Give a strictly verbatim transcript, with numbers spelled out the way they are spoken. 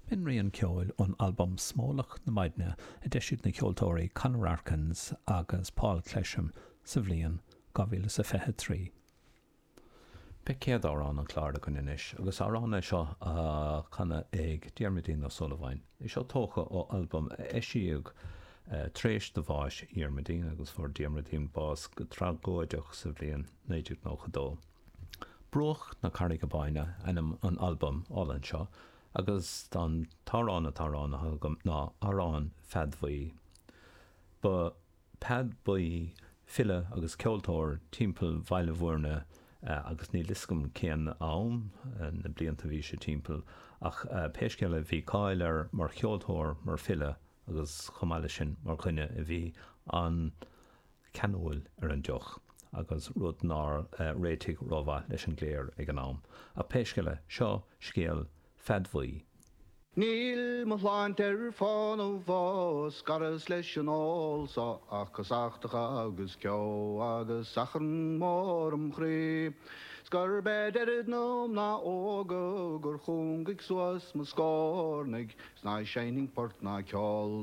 B'in rian ceoil ón albam Smólach na Maidne a d'eisigh na ceoltóirí Conor Arkins agus Paul Clesham sa bhliain dhá mhíle is a fiche trí. Beidh céad amhrán an chláir againn anois, agus amhrán é seo á chanadh ag Diarmuidín Ó Súilleabháin. É seo tógtha ó albam a eisíodh tar éis do bháis Dhiarmuidín, agus fuair Diarmuidín bás go tragóideach sa bhliain naoi déag nócha dó. Bruach na Carraige Báine ainm an albaim álainn seo, agus an t-amhrán atá roghnaithe agam ná Amhrán Pheaid Bhuí. Ba Peaid Buí file agus ceoltóir timpeall Bhaile Bhuirne agus níl fhios agam cén am, na blianta a bhí sé timpeall, ach pé scéal é bhí cáil air mar cheoltóir, mar file agus chomh maith leis sin mar dhuine a bhí an-cheanúil ar an deoch agus rud nár réitigh rómhaith leis an gcléir ag an am. Ach pé scéal é, seo scéal Pheaid Bhuí. Níl mo shláinte ar fánaidh fá scaras leis an ól so ach casachtacha agus ceo agus achrann mór im chroí. 'S gurb é deireadh na mná óga gur chúngaigh suas mo scornaigh 's ná seinnfinn port ná ceol